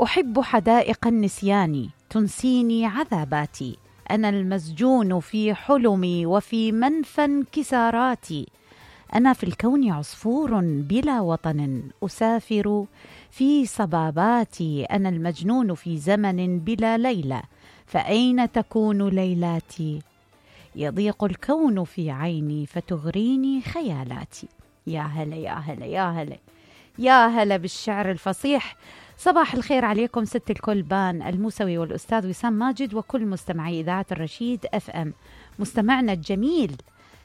أحب حدائق النسيان تنسيني عذاباتي، أنا المسجون في حلمي وفي منفى انكساراتي، أنا في الكون عصفور بلا وطن أسافر في صباباتي، أنا المجنون في زمن بلا ليلة فأين تكون ليلاتي، يضيق الكون في عيني فتغريني خيالاتي. يا هلا يا هلا يا هلا يا هلا بالشعر الفصيح. صباح الخير عليكم ست الكل بان الموسوي والأستاذ وسام ماجد وكل مستمعي إذاعة الرشيد اف ام. مستمعنا الجميل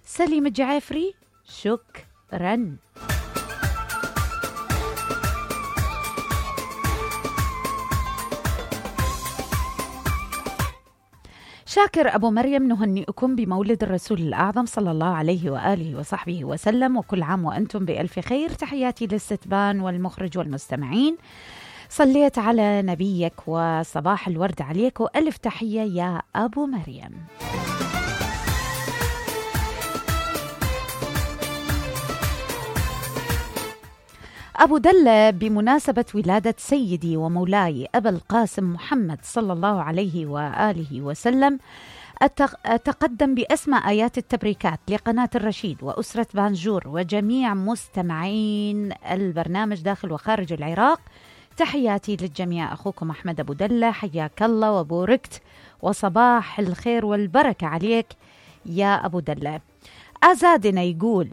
سليم الجعافري شكرا. شاكر أبو مريم نهنئكم بمولد الرسول الأعظم صلى الله عليه وآله وصحبه وسلم، وكل عام وأنتم بألف خير. تحياتي للستبان والمخرج والمستمعين. صليت على نبيك وصباح الورد عليك وألف تحية يا أبو مريم. أبو دلة بمناسبة ولادة سيدي ومولاي أبا القاسم محمد صلى الله عليه وآله وسلم أتقدم بأسمى آيات التبريكات لقناة الرشيد وأسرة بانجور وجميع مستمعين البرنامج داخل وخارج العراق. تحياتي للجميع. أخوكم أحمد أبو دلة، حياك الله وبوركت وصباح الخير والبركة عليك يا أبو دلة. أزادنا يقول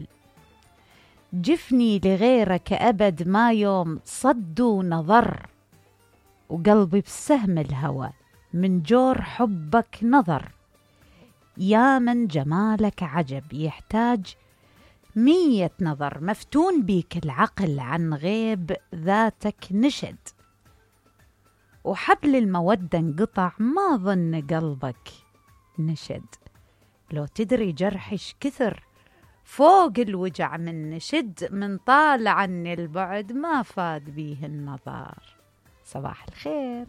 جفني لغيرك أبد ما يوم صد ونظر، وقلبي بسهم الهوى من جور حبك نظر، يا من جمالك عجب يحتاج 100 نظر، مفتون بيك العقل عن غيب ذاتك نشد، وحبل المودة انقطع ما ظن قلبك نشد، لو تدري جرحش كثر فوق الوجع من نشد، من طال عني البعد ما فاد بيه النظر. صباح الخير.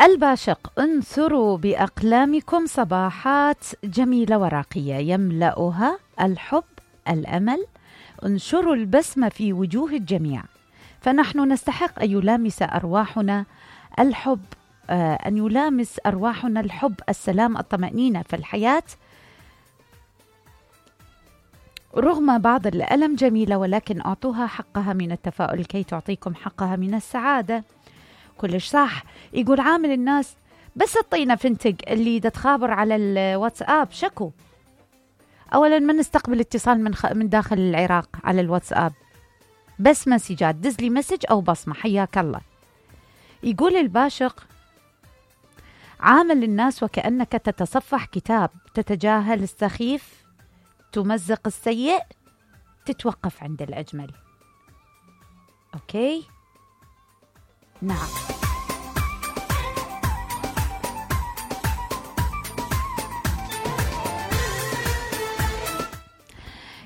الباشق انثروا بأقلامكم صباحات جميلة وراقية يملأها الحب الأمل، انشروا البسمة في وجوه الجميع، فنحن نستحق أن يلامس أرواحنا الحب، أن يلامس أرواحنا الحب، السلام، الطمأنينة في الحياة. رغم بعض الألم جميلة، ولكن أعطوها حقها من التفاؤل كي تعطيكم حقها من السعادة. كلش صح. يقول عامل الناس بس الطينة فنتق اللي تخابر على الواتساب شكو. أولا ما نستقبل اتصال من داخل العراق على الواتساب، بس مسجات، دزلي مسج أو بصمة، حياك الله. يقول الباشق عامل الناس وكأنك تتصفح كتاب، تتجاهل السخيف، تمزق السيء، تتوقف عند الأجمل. أوكي؟ نعم.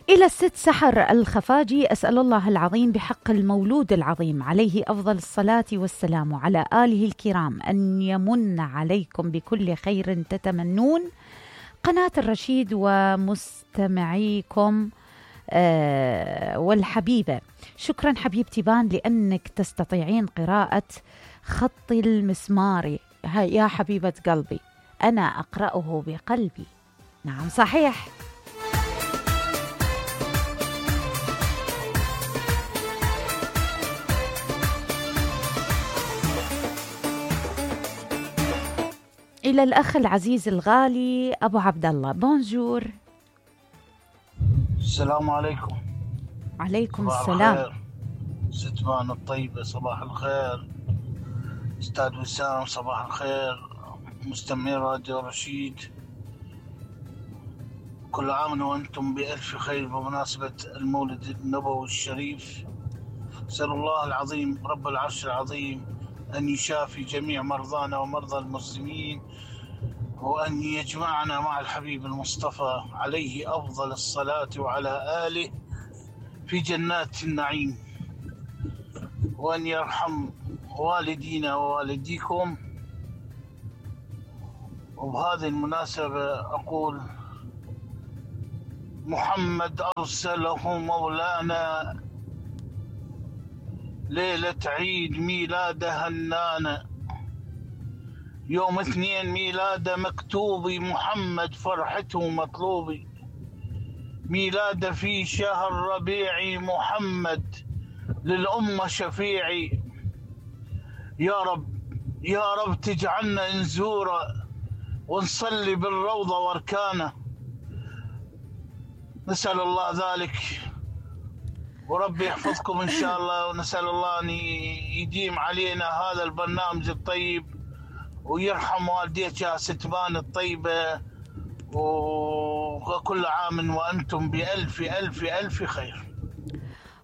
إلى الست سحر الخفاجي، أسأل الله العظيم بحق المولود العظيم عليه أفضل الصلاة والسلام وعلى آله الكرام أن يمن عليكم بكل خير تتمنون. قناة الرشيد ومستمعيكم والحبيبة، شكرا حبيبتي بان لأنك تستطيعين قراءة خط المسمار. يا حبيبة قلبي أنا أقرأه بقلبي. نعم صحيح. إلى الأخ العزيز الغالي أبو عبد الله، بونجور. السلام عليكم. عليكم السلام. ستمان الطيبة صباح الخير. أستاذ وسام صباح الخير. مستمعي راديو رشيد كل عام وأنتم بألف خير بمناسبة المولد النبوي الشريف. أسأل الله العظيم رب العرش العظيم أن يشافي جميع مرضانا ومرضى المسلمين، وأن يجمعنا مع الحبيب المصطفى عليه أفضل الصلاة وعلى آله في جنات النعيم، وأن يرحم والدينا ووالديكم. وبهذه المناسبة أقول محمد أرسله مولانا، ليلة عيد ميلاده هنانا، يوم 2 ميلاده مكتوبي، محمد فرحته مطلوبي، ميلاده في شهر ربيعي، محمد للأمة شفيعي، يا رب يا رب تجعلنا نزوره ونصلي بالروضة واركانه، نسأل الله ذلك، وربي يحفظكم إن شاء الله، ونسأل الله أن يديم علينا هذا البرنامج الطيب، ويرحم والديك يا ستبان الطيبة، وكل عام وأنتم بألف ألف ألف خير.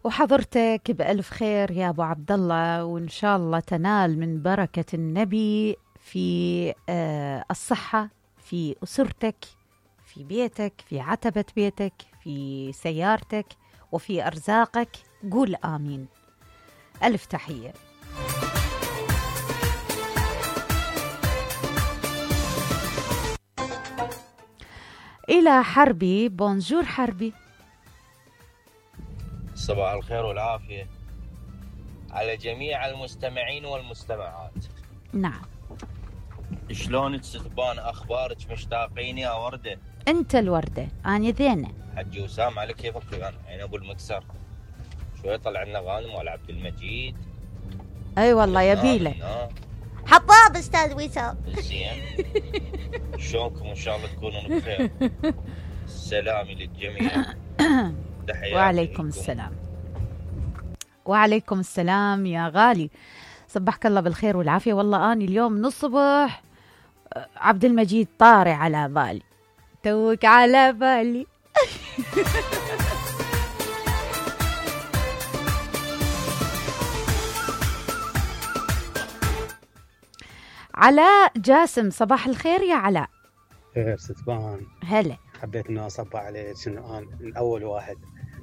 وحضرتك بألف خير يا أبو عبد الله، وإن شاء الله تنال من بركة النبي في الصحة، في أسرتك، في بيتك، في عتبة بيتك، في سيارتك، وفي أرزاقك. قول آمين. ألف تحية. إلى حربي. بونجور حربي. صباح الخير والعافية على جميع المستمعين والمستمعات. نعم. شلونك ستبان؟ أخبارك؟ مشتاقين يا وردة؟ أنت الوردة، أنا ذينة. حجي وسام على كيفك أنا عين أبو المكسر. شوي طلع لنا غانم ولا عبد المجيد. أي والله يبيله. حطاب أستاذ وسام. زين. شلونكم؟ إن شاء الله تكونون بخير. سلامي للجميع. وعليكم السلام. وعليكم السلام يا غالي، صبحك الله بالخير والعافية. والله أني اليوم من الصبح عبد المجيد طاري على بالي، توك على بالي. علاء جاسم، صباح الخير يا علاء. خير ستبان. هلا. حبيت انه اصبح عليك، انه انا من اول واحد.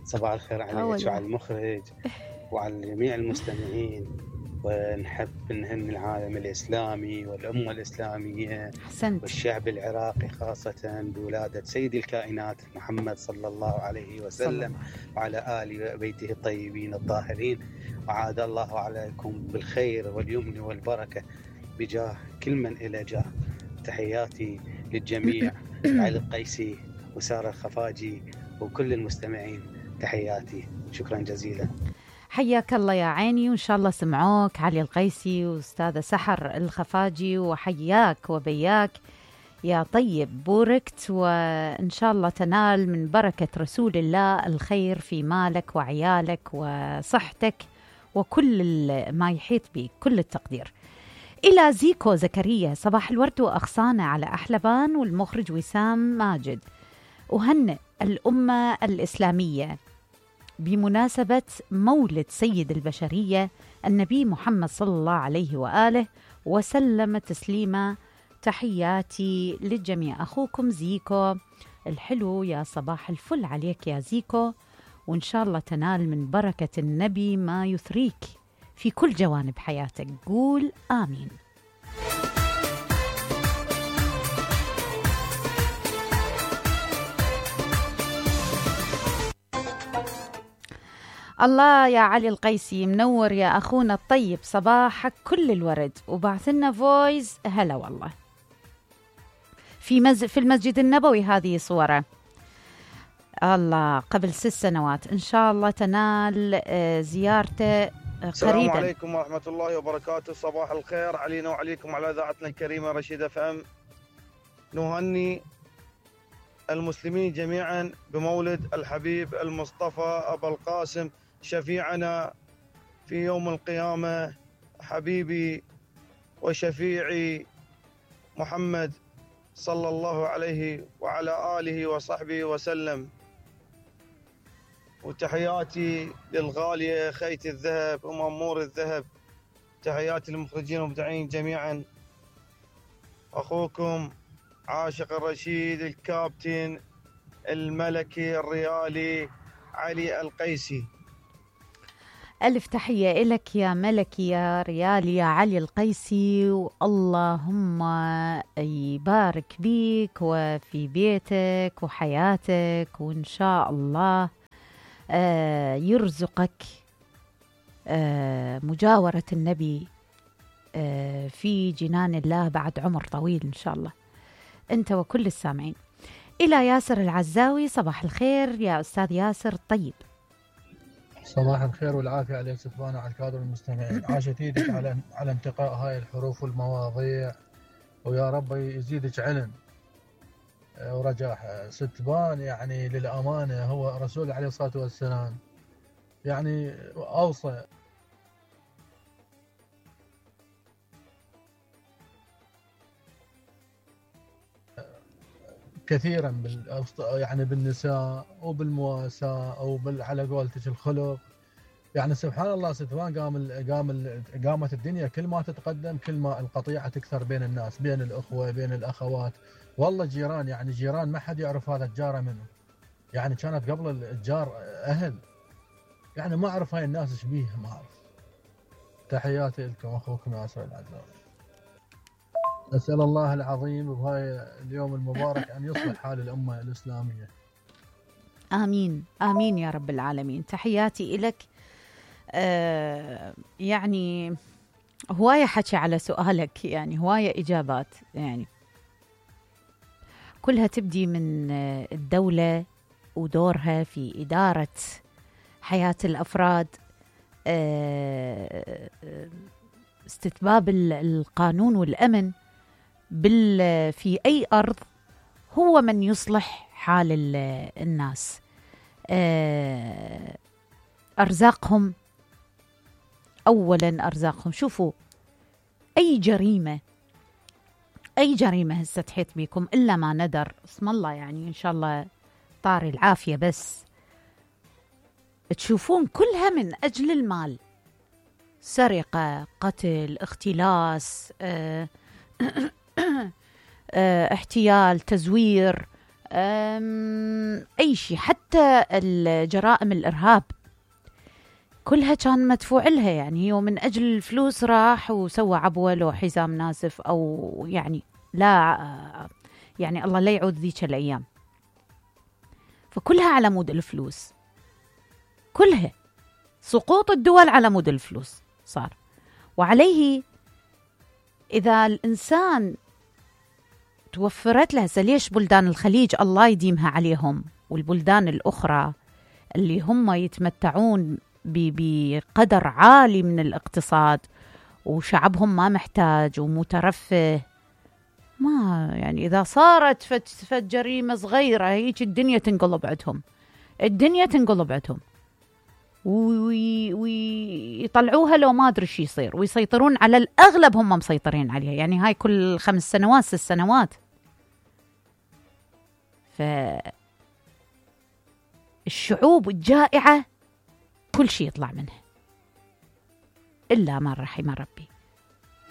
صباح الخير عليك وعلى المخرج وعلى جميع المستمعين، ونحب نهني العالم الاسلامي والامه الاسلاميه حسنت. والشعب العراقي خاصه بولاده سيد الكائنات محمد صلى الله عليه وسلم وعلى ال بيته الطيبين الطاهرين، وعاد الله عليكم بالخير واليمن والبركه بجاه كل من إلى جاه. تحياتي للجميع. علي القيسي وسارة الخفاجي وكل المستمعين، تحياتي. شكرا جزيلا. حياك الله يا عيني، وإن شاء الله سمعوك علي القيسي وأستاذة سحر الخفاجي، وحياك وبياك يا طيب. بوركت، وإن شاء الله تنال من بركة رسول الله الخير في مالك وعيالك وصحتك وكل ما يحيط بك، كل التقدير. إلى زيكو زكريا، صباح الورد وأغصانة على أحلبان والمخرج وسام ماجد. أهنئ الأمة الإسلامية بمناسبة مولد سيد البشرية النبي محمد صلى الله عليه وآله وسلم تسليما. تحياتي للجميع. أخوكم زيكو الحلو. يا صباح الفل عليك يا زيكو، وإن شاء الله تنال من بركة النبي ما يثريك في كل جوانب حياتك. قول آمين. الله يا علي القيسي، منور يا أخونا الطيب، صباحك كل الورد، وبعث لنا فويس. هلا والله. في المسجد النبوي هذه صوره. الله، قبل 6 سنوات. إن شاء الله تنال زيارته قريبا. السلام عليكم ورحمة الله وبركاته. صباح الخير علينا وعليكم على إذاعتنا الكريمة رشيد اف ام. نهني المسلمين جميعا بمولد الحبيب المصطفى أبا القاسم شفيعنا في يوم القيامة، حبيبي وشفيعي محمد صلى الله عليه وعلى آله وصحبه وسلم. وتحياتي للغالية خيت الذهب ومأمور الذهب. تحياتي للمخرجين والمبدعين جميعا. أخوكم عاشق الرشيد الكابتن الملكي الريالي علي القيسي. ألف تحية إلك يا ملكي يا ريال يا علي القيسي، واللهم يبارك بيك وفي بيتك وحياتك، وإن شاء الله يرزقك مجاورة النبي في جنان الله بعد عمر طويل إن شاء الله، أنت وكل السامعين. إلى ياسر العزاوي، صباح الخير يا أستاذ ياسر الطيب. صباح الخير والعافية عليك ستفانا وعلى الكادر المستمعين. عاشت ايدك على انتقاء هاي الحروف والمواضيع، ويا رب يزيدك علم ورجاح. ستبان يعني للأمانة هو رسول عليه الصلاة والسلام يعني أوصى كثيرا يعني بالنساء وبالمواساة او على قولتك الخلق. يعني سبحان الله ستفان قامت الدنيا كل ما تتقدم كل ما القطيعة تكثر بين الناس، بين الأخوة بين الأخوات. والله جيران، يعني جيران ما حد يعرف هذا الجارة منه، يعني كانت قبل الجار أهل، يعني ما أعرف هاي الناس ايش بيها، ما أعرف. تحياتي لكم أخوكم ياسر العزاوي. أسأل الله العظيم بهاي اليوم المبارك أن يصلح حال الأمة الإسلامية. آمين آمين يا رب العالمين. تحياتي إلك. يعني هواية حكي على سؤالك، يعني هواية إجابات، يعني كلها تبدي من الدولة ودورها في إدارة حياة الأفراد، استتباب القانون والأمن في أي أرض، هو من يصلح حال الناس. أرزاقهم أولا، أرزاقهم. شوفوا أي جريمة هسه تحيط بيكم إلا ما ندر اسم الله، يعني إن شاء الله طاري العافية، بس تشوفون كلها من أجل المال، سرقة، قتل، اختلاس، احتيال، تزوير، أي شيء، حتى الجرائم الإرهاب كلها كان مدفوع لها، يعني هو من أجل الفلوس راح وسوى عبوة لو حزام ناسف، أو يعني لا، يعني الله لا يعود ذيك الأيام. فكلها على مود الفلوس، كلها سقوط الدول على مود الفلوس صار. وعليه إذا الإنسان توفرت له، ليش بلدان الخليج الله يديمها عليهم والبلدان الأخرى اللي هم يتمتعون بقدر عالي من الاقتصاد وشعبهم ما محتاج ومترفه، ما يعني إذا صارت فد جريمة صغيرة هيك الدنيا تنقلب عندهم، ويطلعوها لو ما أدري شو يصير، ويسيطرون على الأغلب، هم مسيطرين عليها، يعني هاي كل 5 سنوات 6 سنوات. فالشعوب الجائعة كل شيء يطلع منها إلا ما رحم ربي.